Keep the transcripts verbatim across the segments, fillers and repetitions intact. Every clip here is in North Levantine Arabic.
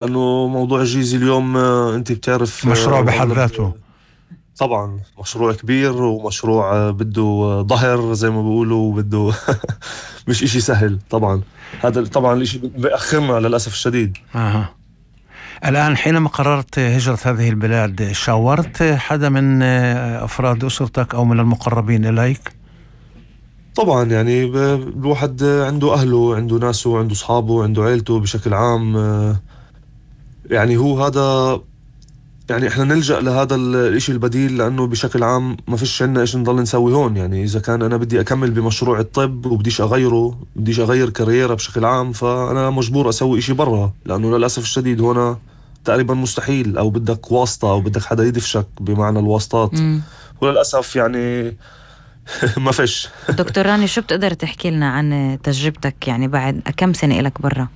لأنه موضوع الجيزي اليوم آه، أنت بتعرف مشروع آه، بحد أغلب ذاته. طبعا مشروع كبير ومشروع آه، بده آه، ظهر زي ما بيقولوا بده مش إشي سهل طبعا. هذا طبعا الإشي بأخرنا للأسف الشديد. آه. الآن حينما قررت هجرة هذه البلاد، شاورت حدا من آه، أفراد أسرتك أو من المقربين إليك؟ طبعا يعني ب- الواحد آه، عنده أهله، عنده ناسه، عنده أصحابه، عنده عيلته بشكل عام. آه، يعني هو هذا، يعني احنا نلجأ لهذا ال- الاشي البديل، لانه بشكل عام ما فيش عنا ايش نضل نسوي هون. يعني اذا كان انا بدي اكمل بمشروع الطب وبديش اغيره، بديش اغير كاريرا بشكل عام، فانا مجبور اسوي اشي برا، لانه للاسف الشديد هون تقريبا مستحيل، او بدك واسطة او بدك حدا يدفشك بمعنى الواسطات. مم. وللاسف يعني ما فيش. دكتور راني، شو بتقدر تحكي لنا عن تجربتك يعني بعد كم سنة إلك برا؟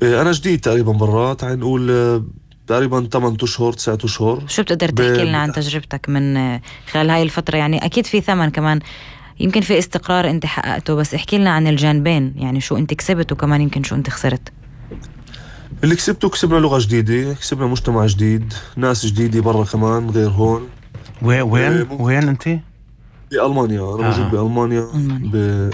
إيه، انا جديد تقريبا برا، تعال نقول آه، تقريبا ثمانية اشهر تسعة اشهر. شو بتقدر ب... تحكي لنا عن تجربتك من خلال هاي الفترة؟ يعني أكيد في ثمن كمان، يمكن في استقرار أنت حققته، بس احكي لنا عن الجانبين، يعني شو أنت كسبت وكمان يمكن شو أنت خسرت. اللي كسبته، كسبنا لغة جديدة، كسبنا مجتمع جديد، ناس جديدة برا كمان غير هون. وين وين إيه، ممكن وين أنت؟ بألمانيا. أنا موجود آه. بألمانيا. ألمانيا. ب...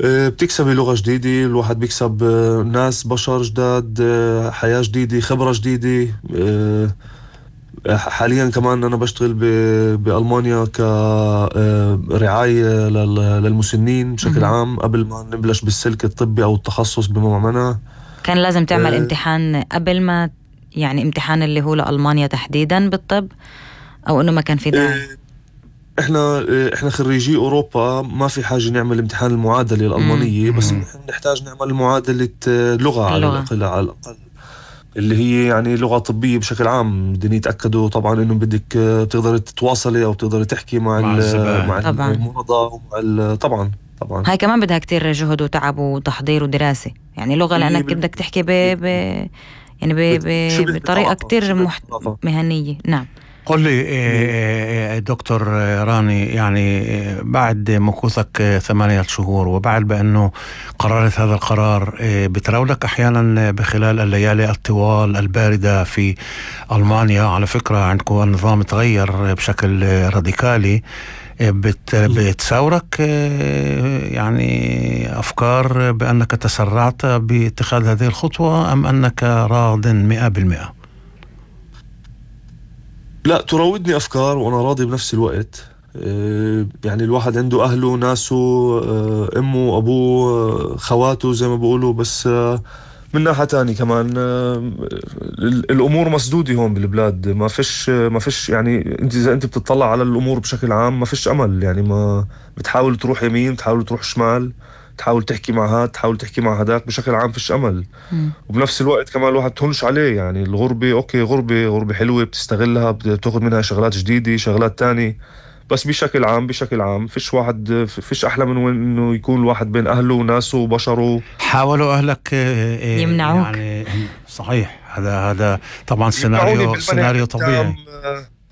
إيه، بتكسبي لغة جديدة، الواحد بيكسب آه، ناس بشر جداد، آه، حياة جديدة، خبرة جديدة. آه، حاليا كمان أنا بشتغل ب... بألمانيا كرعاية لل... للمسنين بشكل مهم. عام. قبل ما نبلش بالسلك الطبي أو التخصص بما معناه، كان لازم تعمل آه، امتحان قبل ما، يعني امتحان اللي هو لألمانيا تحديدا بالطب، أو أنه ما كان في داعي؟ إيه، احنا احنا خريجي اوروبا ما في حاجه نعمل امتحان المعادله مم. الالمانيه، بس مم. نحن نحتاج نعمل معادله آه، لغه على اللغة. الاقل على الاقل اللي هي يعني لغه طبيه بشكل عام. بدهم يتاكدوا طبعا انه بدك آه، تقدر تتواصلي او تقدر تحكي مع مع ال- مع الزبائن. طبعا المرضى ومع ال- طبعا طبعا هاي كمان بدها كتير جهد وتعب وتحضير ودراسة، يعني لغة مية لأنك بالمية. بدك تحكي ب... ب... يعني ب... ب... شبه بطريقة بطلاقه، كتير شبه محت... بطلاقه. مهنية. نعم. قل لي مية. آه، آه، دكتور راني، يعني آه، بعد مكوثك آه، ثمانية شهور، وبعد بأنه قررت هذا القرار، آه، بتراودك أحيانا بخلال الليالي الطوال الباردة في ألمانيا. على فكرة عندكم النظام تغير بشكل آه، راديكالي. آه، بت بتساورك آه، يعني أفكار بأنك تسرعت باتخاذ هذه الخطوة، أم أنك راض مئة بالمئة؟ لا، تراودني أفكار وأنا راضي بنفس الوقت. آه، يعني الواحد عنده أهله، ناسه، آه، أمه، أبوه، آه، خواته زي ما بيقولوا. بس آه، من ناحية تاني كمان آه، ال- الأمور مسدودة هون بالبلاد. ما فيش ما فيش يعني أنت إذا أنت بتطلع على الأمور بشكل عام ما فيش أمل. يعني ما بتحاول تروح يمين، بتحاول تروح شمال، تحاول تحكي مع هاد، تحاول تحكي مع هداك، بشكل عام فيش أمل. مم. وبنفس الوقت كمان الواحد تهونش عليه. يعني الغربة اوكي، غربة غربة حلوة بتستغلها، بتاخذ منها شغلات جديدة، شغلات تانية. بس بشكل عام بشكل عام فيش واحد فيش احلى من وين انه يكون الواحد بين اهله وناسه وبشره. حاولوا أهلك آه، آه، يمنعوك. يعني صحيح، هذا هذا طبعا يمنعوني سيناريو بالمنع سيناريو التام. طبيعي.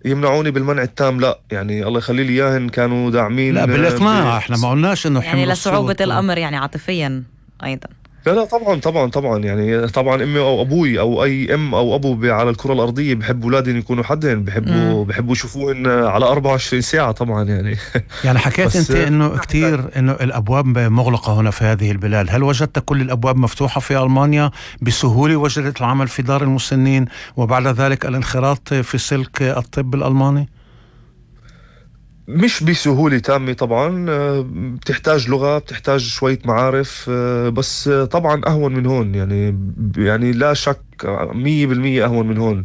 يمنعوني بالمنع التام، لا يعني الله يخلي لي اياهن كانوا لا، داعمين آه، بالإقناع، ب... احنا ما قلناش انه يعني حمل لصعوبة الصوت و... الأمر، يعني عاطفيا أيضا. لا لا، طبعا طبعا طبعا. يعني طبعا امي او ابوي او اي ام او ابو ب- على الكره الارضيه بحبوا اولادهم يكونوا حدهم، مم. بحبوا بحبوا يشوفوهن على أربعة وعشرين ساعه طبعا يعني. يعني حكيت بس انت آه، انه كتير انه الابواب مغلقة هنا في هذه البلاد. هل وجدت كل الابواب مفتوحة في المانيا بسهولة؟ وجدت العمل في دار المسنين وبعد ذلك الانخراط في سلك الطب الالماني؟ مش بسهولة تامة طبعا. آه، بتحتاج لغة، بتحتاج شوية معارف، آه، بس آه، طبعا أهون من هون. يعني يعني لا شك مية بالمية أهون من هون.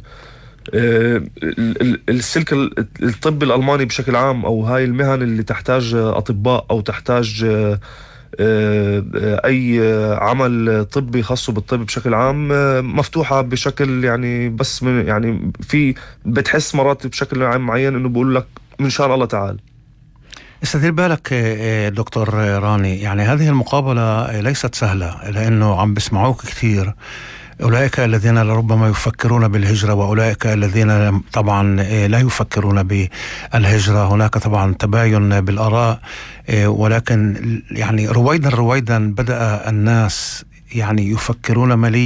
آه، ال- ال- السلك ال- الطب الألماني بشكل عام، أو هاي المهن اللي تحتاج آه، أطباء، أو تحتاج آه، آه، آه، أي آه، عمل طبي خاص بالطب بشكل عام، آه، مفتوحة بشكل يعني بس من يعني في بتحس مرات بشكل عام معين إنه بقول لك من شان الله تعال. استدير بالك آه، آه، دكتور راني، يعني هذه المقابلة آه، ليست سهلة، لأنه عم بسمعوك كثير أولئك الذين لربما يفكرون بالهجرة، وأولئك الذين طبعا آه، لا يفكرون بالهجرة. هناك طبعا تباين بالآراء، آه، ولكن يعني رويدا رويدا بدأ الناس يعني يفكرون ماليا